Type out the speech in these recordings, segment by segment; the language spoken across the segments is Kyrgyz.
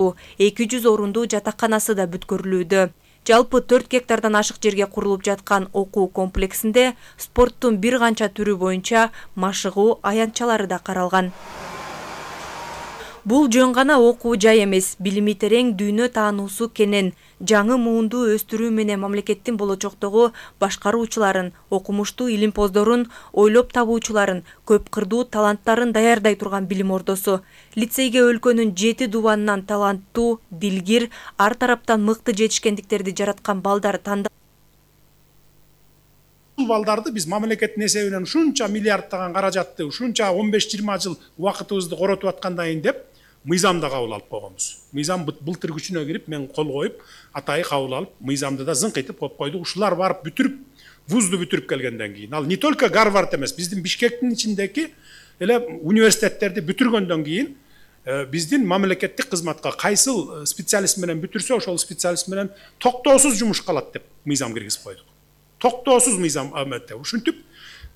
ортосу, 200 орундуу жатаканасы да бүткөрүлүүдө. Жалпы 4 гектардан ашык жерге курулуп жаткан окуу комплексинде спорттун бир канча түрү боюнча машыгуу аянтчалары да каралган. Бул жөн гана окуу жай эмес, билими терең, дүйнө таануусу кенен, жаңы муунду өстүрүү менен мамлекеттин болочоктогу башкаруучуларын, окумуштуу илимпоздорун, ойлоп табуучуларын, көп кырдуу таланттарын даярдай турган билим ордосу. Лицейге өлкөнүн 7 дубанынан таланттуу, дилгир, ар тараптан мыкты жетишкендиктерди жараткан балдар тандалды. Балдарды биз мамлекеттин эсебинен ушунча миллиарддаган каражатты, ушунча 15-20 жыл убакытыбызды коротуп аткандан кийин деп мыйзамда кабыл алып койгонбуз. Мыйзам былтыр күчүнө кирип, мен кол коюп, атайы кабыл алып, мыйзамды да зыңкыйтып коюп койдук. Ушулар барып бүтүрүп, вузду бүтүрүп келгенден кийин, ал не только Гарвард эмес, биздин Бишкектин ичиндеги эле университеттерди бүтүргөндөн кийин биздин мамлекеттик кызматка кайсыл специалист менен бүтүрсө, ошол специалист менен токтоосуз жумушка алат деп мыйзам киргизип койдук. Токтоосуз мыйзам аметте. Ушинтип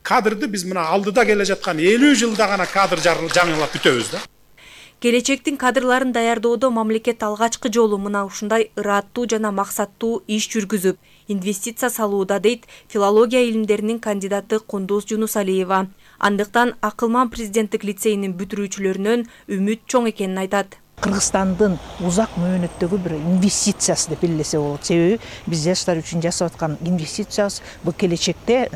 кадрды биз мына алдыда келе жаткан 50 жылда гана кадр жаңылап бүтөбүз да. Келечектин кадрларын даярдоодо мамлекет алгачкы жолу мына ушундай ыраттуу жана максаттуу иш жүргүзүп, инвестиция салууда, дейт филология илимдеринин кандидаты Кундуз Жунусалиева. Андыктан Акылман президенттик лицейинин бүтүрүүчүлөрүнөн үмүт чоң экенин айтат. Кыргызстандын узак мөөнөттөгү бир инвестициясы деп белгилесе болот. Себеби биз жаштар үчүн жасап аткан инвестициябыз бул келечекте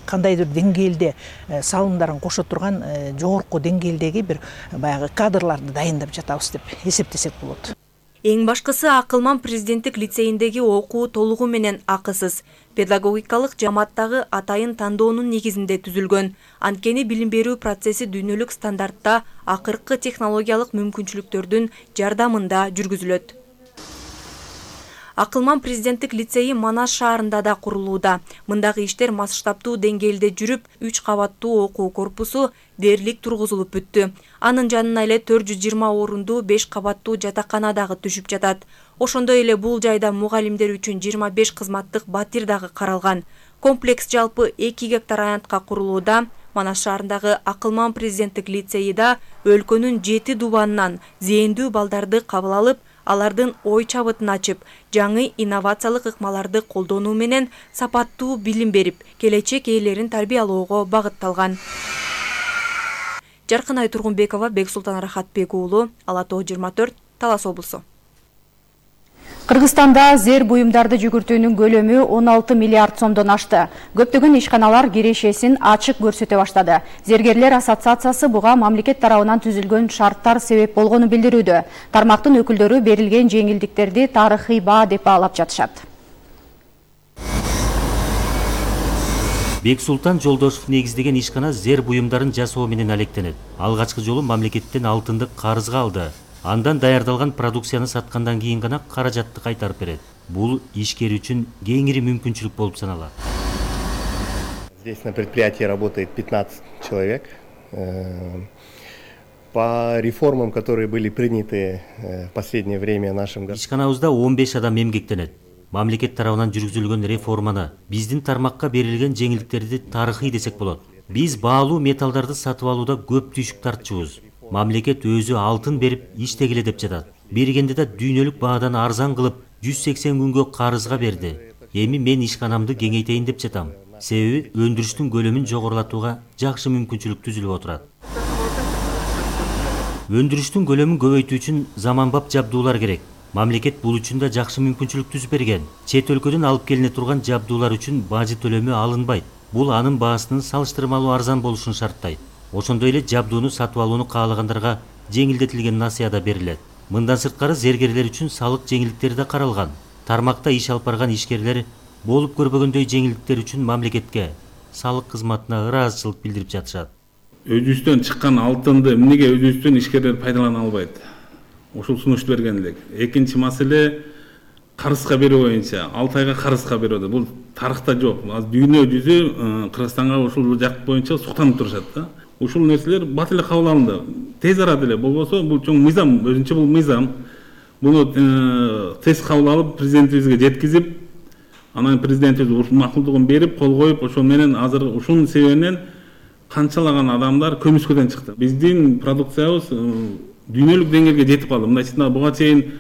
кандайдыр деңгээлде салымдарын кошо турган жогорку деңгээлдеги бир баягы кадрларды дайындап жатабыз деп эсептесек болот. Эң башкысы Акылман президенттик лицейиндеги окуу толугу менен акысыз. Педагогикалык жамааттагы атайын тандоонун негизинде түзүлгөн. Анткени билим берүү процесси дүйнөлүк стандартта акыркы технологиялык мүмкүнчүлүктөрдүн жардамында жүргүзүлөт. Акылман президенттик лицейи Манас шаарында да курулууда. Мындагы иштер масштабтуу деңгээлде жүрүп, 3 кабаттуу окуу корпусу дээрлик тургузулуп бүттү. Анын жанына эле 420 орундуу 5 кабаттуу жатакана дагы түшүп жатат. Ошондой эле бул жайда мугалимдер үчүн 25 кызматтык батир дагы каралган. Комплекс жалпы 2 гектар аянтка курулууда. Манас шаарындагы Акылман президенттик лицейи да өлкөнүн 7 дубанынан зээндүү балдарды кабыл алып, алардын ой чабытын ачып, жаңы инновациялык ыкмаларды колдонуу менен сапаттуу билим берип, келечек ээлерин тарбиялоого багытталган. Жаркынай Тургунбекова, Бексултан Рахатбек уулу, Ала Тоо 24, Талас облусу. Кыргызстанда зер буюмдарды жүгүртүүнүн көлөмү 16 миллиард сомдон ашты. Көптөгөн ишканалар кирешесин ачык көрсөтө баштады. Зергерлер ассоциациясы буга мамлекет тарабынан түзүлгөн шарттар себеп болгонун билдирүүдө. Тармактын өкүлдөрү берилген жеңилдиктерди тарыхый баа деп баалап жатышат. Бексултан Жолдошев негиздеген ишкана зер буюмдарын жасоо менен алектенет. Алгачкы жолу мамлекеттен алтынды карызга алды. Андан даярдалган продукцияны саткандан кийин гана каражатты кайтарып берет. Бул ишкер үчүн кеңири мүмкүнчүлүк болуп саналат. Здесь на предприятии работает 15 человек. По реформам, которые были приняты в последнее время нашим городом. Ишканабызда 15 адам эмгектенет. Мамлекет тарабынан жүргүзүлгөн реформаны, биздин тармакка берилген жеңилдиктерди тарыхый десек болот. Биз баалуу металлдарды сатып алууда көп түйшүк тартчубуз. Мамлекет өзү алтын берип иштегиле деп жатат. Бергенде да дүйнөлүк баадан арзан кылып 180 күнгө карызга берди. Эми мен ишканамды кеңейтейин деп жатам. Себеби өндүрүштүн көлөмүн жогорулатууга жакшы мүмкүнчүлүк түзүлүп отурат. Өндүрүштүн көлөмүн көбөйтүү үчүн заманбап жабдуулар керек. Мамлекет бул үчүн да жакшы мүмкүнчүлүк түзүп берген. Чет өлкөдөн алып келине турган жабдуулар үчүн бажы төлөмү алынбайт. Бул анын баасынын салыштырмалуу арзан болушун шарттайт. Ошондой эле жабдууну сатып алууну каалагандарга жеңилдетилген насыя да берилет. Мындан сырткары зергерлер үчүн салык жеңилдиктери да каралган. Тармакта иш алып барган ишкерлер болуп көрбөгөндөй жеңилдиктер үчүн мамлекетке, салык кызматына ыраазычылык билдирип жатышат. Өзүбүздөн чыккан алтынды эмнеге өзүбүздөн ишкерлер пайдалана албайт? Ушул сунуш берген элек. Экинчи маселе карызга берүү боюнча 6 айга карызга берүүдө. Бул тарыхта жок. Дүйнө жүзү Кыргызстанга ушул жак боюнча суктанып турушат да. Ушул нерселер бат эле кабыл алынды. Тез арада эле болбосо бул чоң мыйзам, өзүнчө бул мыйзам. Буну тез кабыл алып президентибизге жеткизип, анан президентибиз ушул макулдугун берип, кол коюп, ошол менен азыр ушунун себебинен канчалаган адамдар көмүскөдөн чыкты. Биздин продукциябыз дүйнөлүк деңгээлге жетип калды. Мындайча буга чейин